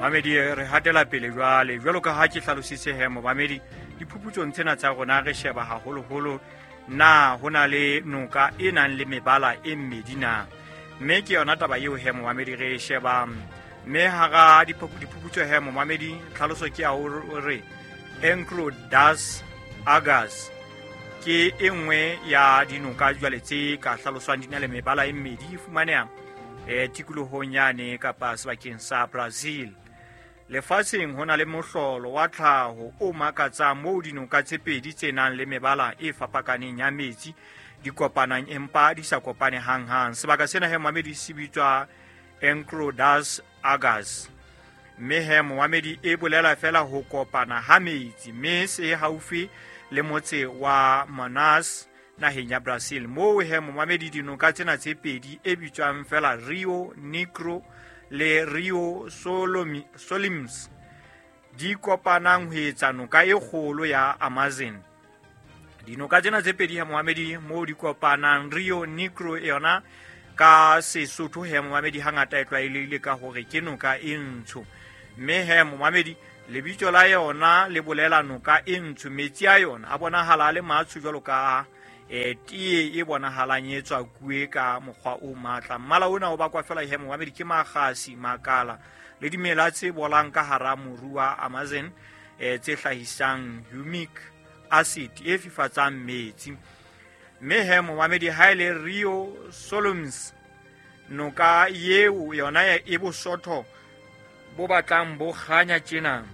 Mamedi, re hatela pele jwale. Jwalo ka ha ke hlalositse he momamedi, diphuputsong tsena tsa rona re sheba haholoholo na ho na le noka e nang le mebala e mmedi na. Mme ke yona taba eo he momamedi re e shebang. Mme hara diphuputso he momamedi, tlhaloso ke ya hore Encro das Agas ke e nngwe ya dinoka jwale tse ka hlaloswang di na le mebala e mmedi, e fumaneha tikolohong yane kapa sebakeng sa Brazil. Lefatsheng ho na le mohlolo wa tlhaho o makatsang moo dinoka tse pedi tse nang le mebala e fapakaneng ya metsi di kopanang empa di sa kopane hanghang. Sebaka sena he momamedi se bitswa Encro das Agas, mme he momamedi e bolela fela ho kopana ha metsi, mme se haufi le motse wa Manaus naheng ya Brazil. Moo he momamedi dinoka tsena tse pedi e bitswang fela Rio Negro le Rio Solims di kopanang ho etsa noka e kgolo ya Amazon. Dinoka tsena tse pedi he momamedi moo di kopanang, Rio Negro yona ka Sesotho he momamedi hangata e tlwaelehile ka hore ke noka e ntsho, mme he momamedi lebitso la yona le bolela noka e ntsho. Metsi a yona a bonahala a le matsho jwalo ka tee e bonahalang e tswa kuwe ka mokgwa o matla. Mmala ona o bakwa fela he momamedi ke makgasi, makala le dimela tse bolang ka hara moru wa Amazon, tse hlahisang humic acid e fifatsang metsi. Mme he momamedi ha e le Rio Solums, noka eo yona e bosotho bo batlang bo kganya tjena.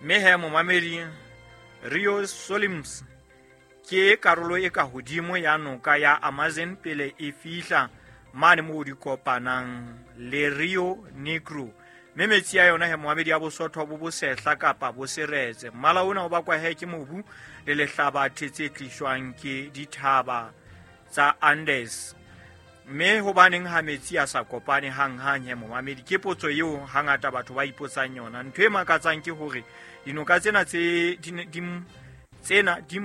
Mme he momamedi Rio Solims ke karolo e ka hodimo ya noka ya Amazon pele e fihla mane moo di kopanang le Rio Negro. Mme metsi a yona he momamedi a bosotho bo bosehla kapa bo seretse. Mmala ona o bakwa he ke mobu le lehlabathe tse tliswang ke dithaba tsa Andes. Mme hobaneng ha metsi a sa kopane hanghang he momamedi, ke potso eo hangata batho ba ipotsang yona. Ntho e makatsang ke hore dinoka tsena tse di tsena di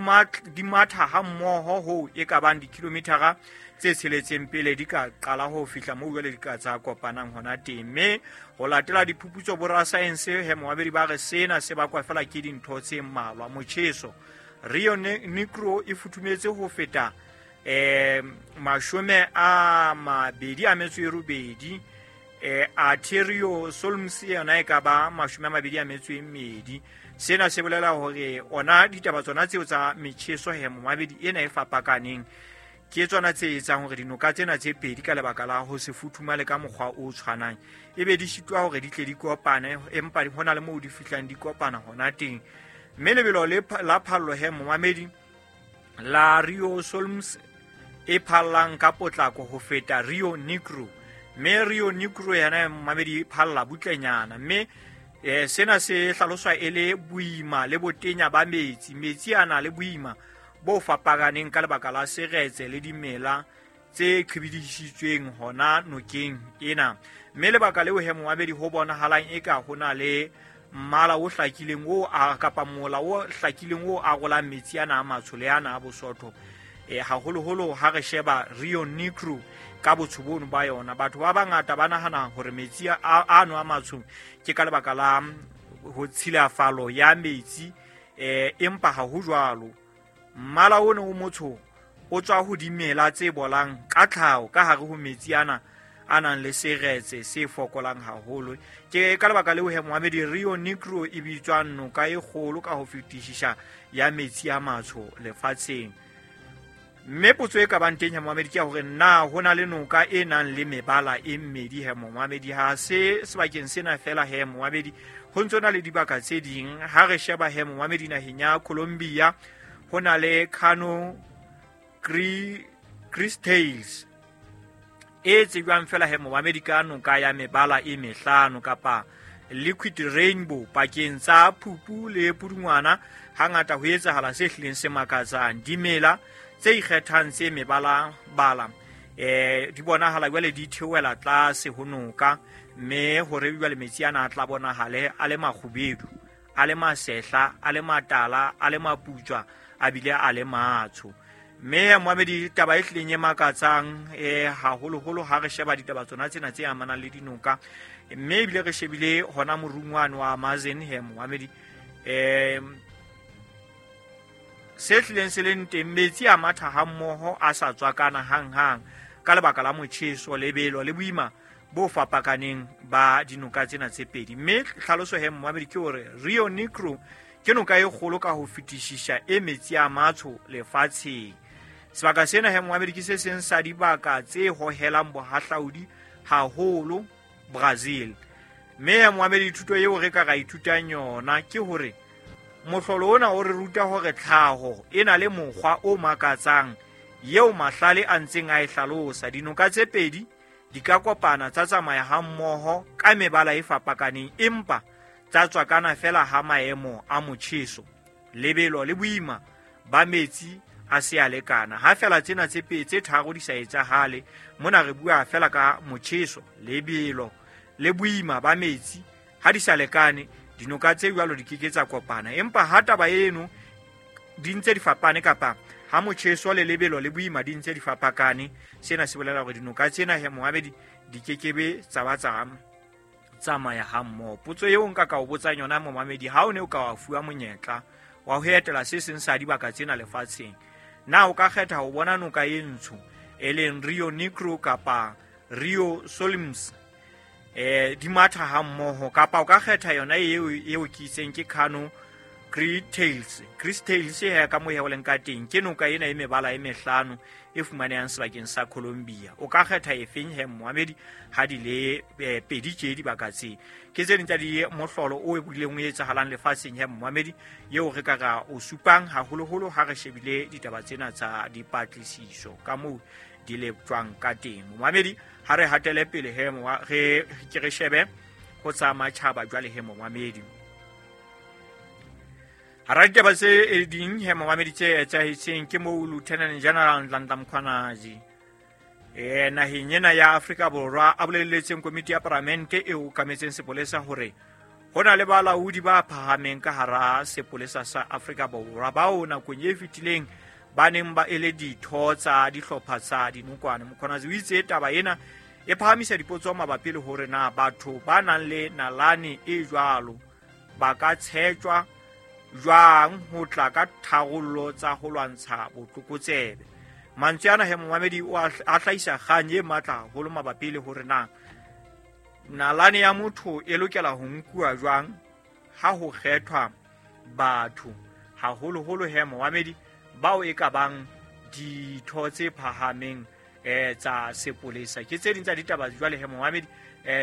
matha ha mmoho hoo e ka bang dikilometara tse tsheletseng pele di ka qala ho fihla moo jwale di ka tsa kopanang hona teng. Mme ho latela diphuputso borasaense he momamedi ba re sena se bakwa fela ke dintho tse mmalwa. Motjheso, Rio Negro e futhumetse ho feta 28, Arterio Solms yona e ka ba 22. Sena se bolela hore ona ditaba tsona tseo tsa metjheso he momamedi ena e fapakaneng ke tsona tse etsang hore dinoka tsena tse pedi ka lebaka la ho se futhumale ka mokgwa o tshwanang ebe di sitwa hore di tle di kopane, empa ho na le moo di fihlang di kopana hona teng. Mme lebelo la phallo he momamedi la Rio Solms e phallang ka potlako ho feta Rio Negro, mme Rio Negro yena momamedi e phalla butlenyana. Mme sena se hlaloswa e le boima le botenya ba metsi. Metsi a na le boima bo fapakaneng ka lebaka la seretse le dimela tse qhibidisitsweng hona nokeng ena. Mme lebaka leo he momamedi ho bonahalang eka ho na le mmala o hlakileng o kapa mola o hlakileng o arolang metsi ana a matsho le ana a bosotho, haholoholo ha re sheba Rio Negro ka botsho bono ba yona. Batho ba bangata ba nahana hore metsi ano a matsho ke ka lebaka la ho tshilafalo ya metsi, empa ha ho jwalo. Mmala ono o motsho o tswa ho dimela tse bolang ka tlhaho ka hare ho metsi ana a nang le seretse se fokolang haholo. Ke ka lebaka leo he momamedi Rio Negro e bitswang noka e kgolo ka ho fetisisa ya metsi a matsho lefatsheng. Mme potso e ka bang teng he momamedi ke ya hore na ho na le noka e nang le mebala e mmedi he momamedi. Ha se sebakeng sena fela he momamedi, ho ntso na le dibaka tse ding. Ha re sheba he momamedi naheng ya Colombia ho na le Cano Cristales e tsejwang fela he momamedi ka noka ya mebala e mehlano kapa liquid rainbow pakeng tsa phupu le pudungwana. Hangata ho etsahala se hlileng se makatsang. Dimela tse ikgethang tse mebala bala di bonahala jwale di theohela tlase ho noka, mme hore jwale metsi ana a tla bonahale a le makgubedu, a le masehla, a le matala, a le maputswa, a bile a le matsho. Mme moamedi taba e hlileng e makatsang haholoholo ha re sheba ditaba tsona tsena tse amanang le dinoka, mme ebile re shebile hona morungwane wa Amazon he moamedi, se hlileng se leng teng, metsi a matha hammoho a sa tswakana hanghang ka lebaka la motjheso, lebelo le boima bo fapakaneng ba dinoka tsena tse pedi. Mme tlhaloso he moamedi ke hore Rio Negro ke noka e kgolo ka ho fetisisa e metsi a matsho lefatsheng. Sebaka sena he moamedi ke se seng sa dibaka tse hohelang bohahlaudi haholo Brazil. Mme moamedi thuto eo re ka ra ithutang yona ke hore mohlolo ona o re ruta hore tlhaho e na le mokgwa o makatsang eo mahlale a ntseng a e hlalosa. Dinoka tse pedi di ka kopana tsa tsamaya hammoho ka mebala e fapakaneng, empa tsa tswakana fela ha maemo a motjheso, lebelo le boima ba metsi a se a lekana. Ha fela tsena tse pedi tse tharo di sa etsahale, mona re bua fela ka motjheso, lebelo le boima ba metsi ha di sa lekane, dinoka tse jwalo di keke tsa kopana. Empa ha taba eno di ntse di fapane, kapa ha motjheso le lebelo le boima di ntse di fapakane, sena se bolela hore dinoka tsena he moabedi di kekebe tsa ba tsa tsamaya hammoho. Potso eo nka ka o botsang yona momamedi, ha o ne o ka wa fuwa monyetla wa ho etela se seng sa dibaka tsena lefatsheng, na o ka kgetha ho bona noka e ntsho e leng Rio Negro kapa Rio Solimões di matha hammoho, kapa o ka kgetha yona eo ke itseng ke Cano Cristales he ka moo he o leng ka teng, ke noka ena e mebala e mehlano e fumanehang sebakeng sa Colombia. O ka kgetha efeng he moamedi ha di le pedi tje dibaka tse? Ke tse ding tsa di mohlolo o bileng o etsahalang lefatsheng he moamedi, eo re ka ra o supang haholoholo ha re shebile ditaba tsena tsa dipatlisiso ka moo di leptjwang ka teng. Moamedi ha re hatele pele he re ke re shebe ho tsa matjhaba jwale he moamedi. Hara ditaba tse ding he momamedi tse etsahetseng ke moo Lieutenant General Nhlanhla Mkhwanazi naheng ena ya Afrika Borwa a boleletseng komiti ya paramente e okametseng sepolesa hore ho na le balaodi ba phahameng ka hara sepolesa sa Afrika Borwa bao nakong e fetileng ba neng ba ele ditho tsa dihlopha tsa dinokwane. Mkhwanazi o itse taba ena e phahamisa dipotso mabapi le hore na batho ba nang le nalane e jwalo ba ka tshetjwa jwang ho tla ka tharollo tsa ho lwantsha botlokotsebe. Mantswe ana he momamedi o a hlahisa kgang e matla haholo mabapi le hore na nalane ya motho e lokela ho nkuwa jwang ha ho kgethwa batho, haholoholo he momamedi bao e ka bang ditho tse phahameng tsa sepolesa. Ke tse ding tsa ditaba jwale he momamedi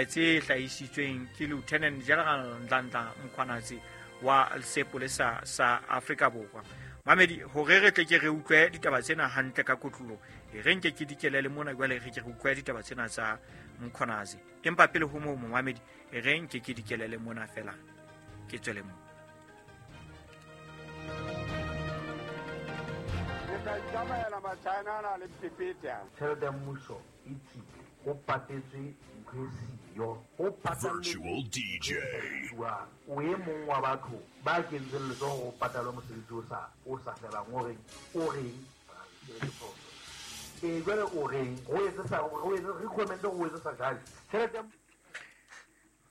tse hlahisitsweng ke Lieutenant General Nhlanhla Mkhwanazi wa sepolesa sa Afrika Borwa. Mamedi, hore re tle ke re utlwe ditaba tsena hantle ka kotlolo, e re nke ke dikelele mona jwale re ke re utlwe ditaba tsena tsa Mkhwanazi. Empa pele ho moo momamedi, e re nke ke dikelele mona fela ke tswele mo. Tjhelete ya mmuso e tsile, ho patetswe ntho e siyo, ho Virtual DJ. O e mong wa batho ba kentseng letsoho ho patalwa mosebetsi o sa felang, o reng, jwale o reng, ho etse sa, ho etse, recommend ho etse sa jwale. Tjhelete ya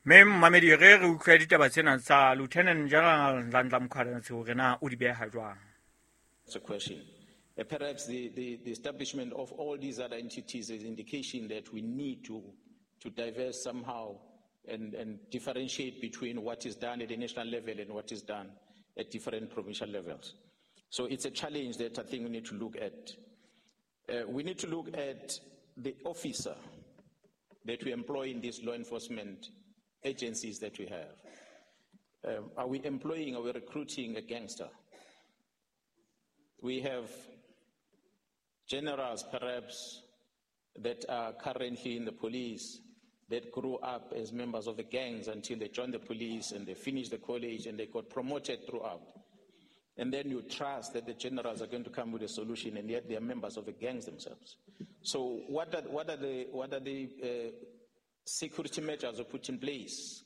Mme mamedi, re utlwe ditaba tsena tsa Lieutenant General Nhlanhla Mkhwanazi hore na o di beha jwang. It's a question. Perhaps the establishment of all these other entities is indication that we need to diverse somehow and differentiate between what is done at the national level and what is done at different provincial levels. So it's a challenge that I think we need to look at. We need to look at the officer that we employ in these law enforcement agencies that we have. Are we employing, are we recruiting a gangster? We have generals, perhaps, that are currently in the police that grew up as members of the gangs until they joined the police and they finished the college and they got promoted throughout. And then you trust that the generals are going to come with a solution, and yet they are members of the gangs themselves. So what are the security measures we put in place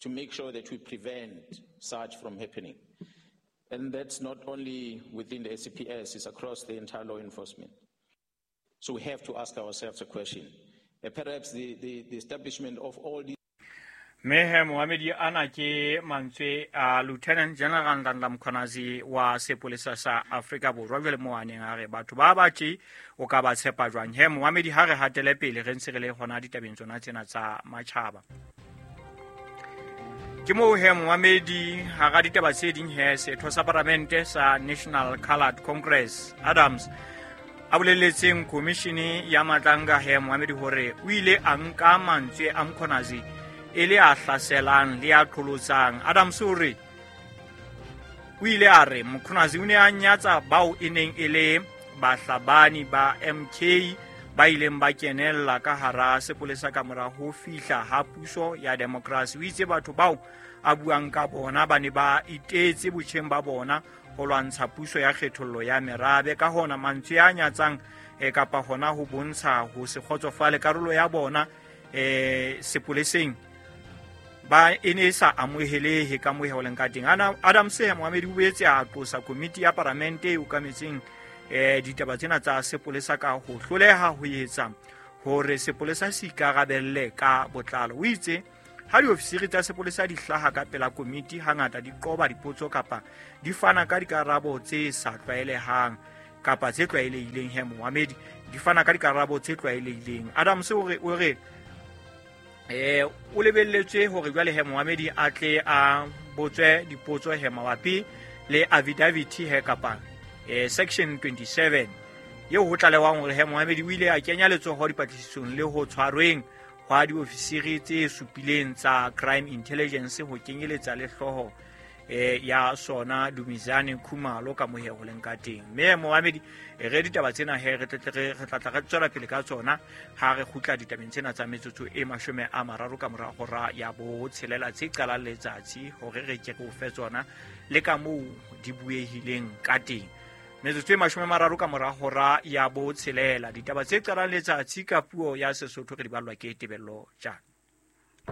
to make sure that we prevent such from happening? And that's not only within the SAPS, it's across the entire law enforcement. So we have to ask ourselves a question. Perhaps the establishment of all these Mme he moamedi ana ke mantswe a Lieutenant General Nhlanhla Mkhwanazi wa sepolesa sa Afrika Borwa jwale mo a neng a re batho ba ba tje o ka ba tshepa jwang. He moamedi ha re hatele pele re ntse re le hona ditabeng tsona tsena tsa matjhaba. Ke moo he moamedi hara ditaba tse ding he setho sa paramente sa National Coloured Congress Adams a boleletseng komishini ya Matlanga he moamedi hore o ile a nka mantswe a Mkhwanazi e le a hlaselang le a qholotsang. Adams o re o ile a re Mkhwanazi o ne a nyatsa bao e neng e le bahlabani ba MK ba ileng ba kenella ka hara sepolesa ka mora ho fihla ha puso ya demokrasi. O itse batho bao a buang ka bona ba ne ba itetse botjheng ba bona ho lwantsha puso ya kgethollo ya merabe. Ka hona mantswe a nyatsang kapa hona ho bontsha ho se kgotsofale karolo ya bona sepoleseng ba e ne e sa amohelehe ka moo ho leng ka teng. Adams Mohamedi o boetse a qosa komiti ya paramente e okametseng ditaba tsena tsa sepolesa ka ho hloleha ho etsa hore sepolesa se ikarabelle ka botlalo. O itse ha diofisiri tsa sepolesa di hlaha ka pela komiti hangata di qoba dipotso kapa di fana ka dikarabo tse sa tlwaelehang kapa tse tlwaelehileng. He Mohamedi di fana ka dikarabo tse tlwaelehileng. Adams o re o lebelletswe hore jwale he Mohamedi a tle a botswe dipotso he mabapi le affidavit he kapa section 27 eo ho tlalewang hore he Mohamedi o ile a kenya letsoho dipatlisisong le ho tshwarweng hwa diofisiri tse supileng tsa crime intelligence ho kenyeletsa le hlooho ya sona Dumizane Khumalo ka mohe ho leng ka teng. Mme Mohamedi re ditaba tsena he re tla re tswela pele ka tsona ha re kgutla ditabeng tsena tsa metsotso e 30 ka mora hora ya 6 tse qalang letsatsi hore re ke re o fe tsona le ka moo di buehileng ka teng. Metsotso e 30 ka mora hora ya 6 ditaba tse qalang letsatsi ka puo ya Sesotho re di ballwa ke Tebello Tjana.